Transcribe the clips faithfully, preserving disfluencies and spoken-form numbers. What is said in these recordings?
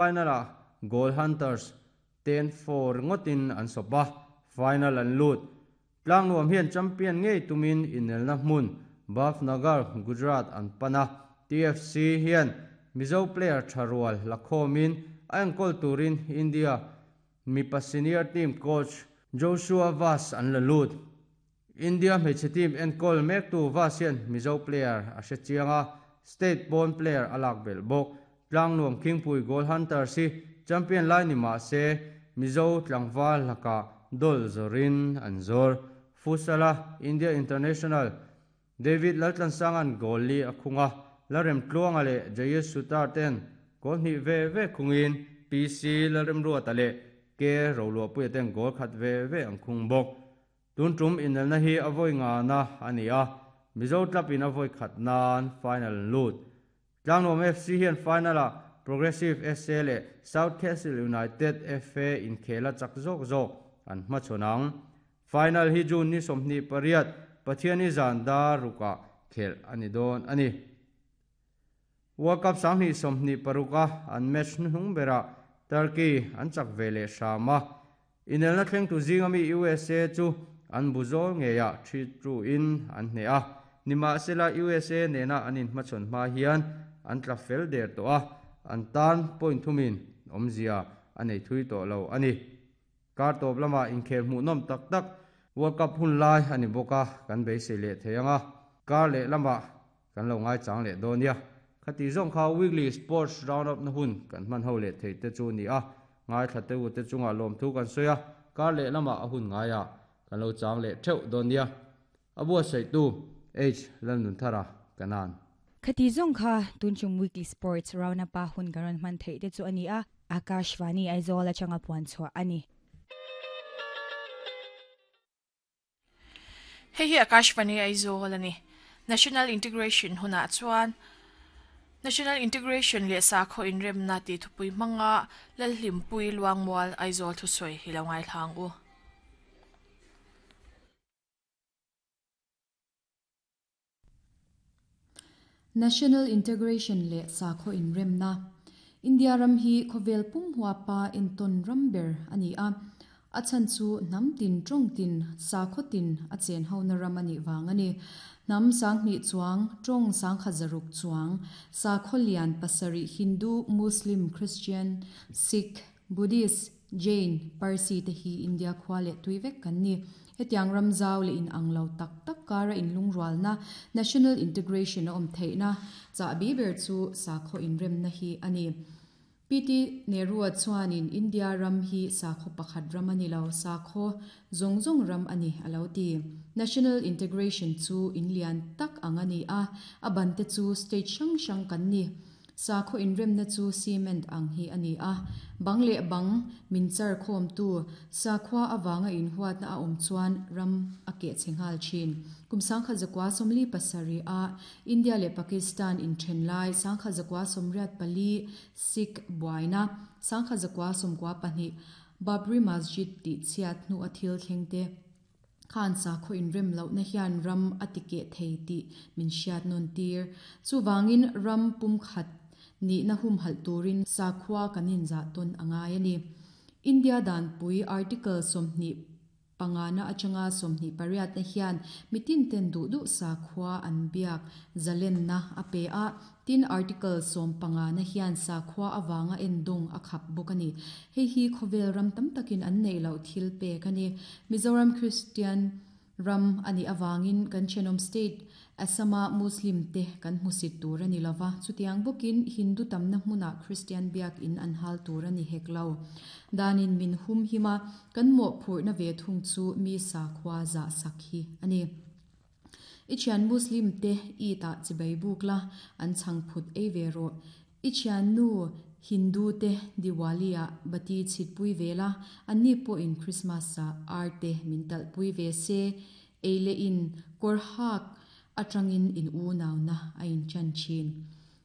Final-ah Goal Hunters ten four ringotin an sawp a, final an lut. Tlangnuam hian champion ngei tumin inelna hmun Bhavnagar, Gujarat an pan a. T F C hian Mizo player tharual lakhomin a enkawl turin India mipa senior team coach Joshua Vas an la lut. India hmeichhe team enkawl mektu Vas hian Mizo player a hre chianga state born player a lak belh bawk. Tlangnuam Khingpui Goal Hunters hi champion lai ni mah se Mizo tlangval laka dol zorin an zor. Futsal-a India International David Laltlansangan goal li a khunga Larem Tluanga leh Jayesh Sutar ten goal hnih ve ve khungin P C Lalrem Ruata leh K Roluahpuia ten goal khat ve ve an khung bawk. Tun tum inelna hi a vawi nga na ani a, Mizo club in a vawi khat nan final lut. Tlangnuam F C hian final-ah Progressive S A leh South Castle United F A inkhela chak zawk zawk an hmachhawn. Final hi June ni sawmhnih pariat Pathiani zan dar rukah khel ani dawn ani. World Cup sanghnih sawmhnih paruka an match hnuhnung berah Turkey an chak ve leh hrama. Inelna thleng tu zingami U S A chu an buzawl ngeiah three two in an hne a. Nimahsela U S A nena an inhmachhawn hma hian an tla fel der tawh a, an tan point thumin awmzia a nei thui tawh lo ani. Kar tawp lama inkhel hmuh nawm tak tak World Cup hun lai ani bawk a, kan beisei leh thei anga. Kar leh lama kan lo ngai chang leh dawn nia. Khati zawng kha weekly sports round up na hun kan hman ho leh thei te chu ni a, ngai thla te u te chunga lawm thu kan sawi a, kar leh lama a hun ngai a kan lo chang leh theuh dawn nia. Abua sei tu H Lalnunthara kanan. Khati zawng kha tunchung weekly sports round up a hun kan rawn hman thei te chu ani a, Akashvani Aizawl atanga puan chhuah ani. Hei hi Akashvani Aizawl ani. National Integration huna chuan National Integration leh sakhaw inremna ti thupui hmanga Lalhlimpui Luangmual Aizawl thusawi hi lo ngai thlang u. National Integration leh sakhaw inremna India ram hi khawvel pum huapa enton ramber ani a, a chan chu nam tin tong tin sakhaw tin a chen ho na ram ani wang ani. Nam sanghni chuang tong sangkha zaruk chuang sakhaw lian pasari Hindu, Muslim, Christian, Sikh, Buddhist, Jain, Parsi te hi India khwa le tuivek kan ni. Hetiang ramzau le in anglo tak tak kara in lungrual na national integration a om theina cha bi ber chu sakhaw inrem na hi ani. P T Nehru chuanin India ram hi sakhaw pakhat ram ani lo, sakhaw zongzong ram ani alo ti. National integration chu inlian tak angani a, aban te chu state sang sang kan ni. Sakhaw inrem na chu cement ang hi ani a, bang le bang min char khom tu sakhwa awanga in huat na a om chuan ram a ke chenghal chin. Kum sangkha zakwa somli pasari a India le Pakistan in thenlai sangkha zakwa somriat pali Sikh buaina sangkha zakwa somkwa pahni Babri Masjid ti chiat nu athil thlengte khan sakhaw inrem lo na hian ram atike thei ti min hriat non tir. Chu wangin ram pum khat ni na hum hal turin sakhwa kanin za ton angai ani. India dan pui article somni pangana achanga somni pariat na hian mitin ten du du sakhwa an biak zalen na ape a. Tin article som pangana hian sakhwa awanga endong akhap bokani. Hei hi khovel ram tam takin an nei lo thil pe kani. Mizoram Christian ram ani awangin kan chenom state Asama Muslim te kan hmusit tur ani lova. Chutiang bokin Hindu tamna hmuna Christian biak in an hal tur ani heklo. Danin min hum hima kan mo phurna ve thung chu mi sakhwa za sakhi ani. Ichian Muslim te i ta chibai bukla an changphut ei ve ro. Ichian nu Hindu te Diwaliya bati chitpui vela anni po in Christmas sa arte mintal pui ve se eile in korhak atangin in u naw na ain chan chin.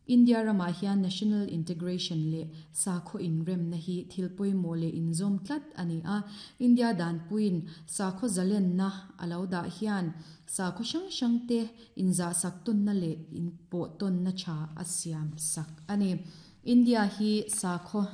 India rama hian national integration le sakhaw inrem na hi thilpui mo le inzom tlat ani a. India dan puin sakhaw zalen na alo da hian sakhaw sang sang te inza sak ton na le in po ton na cha asiam sak ani. India hi sakho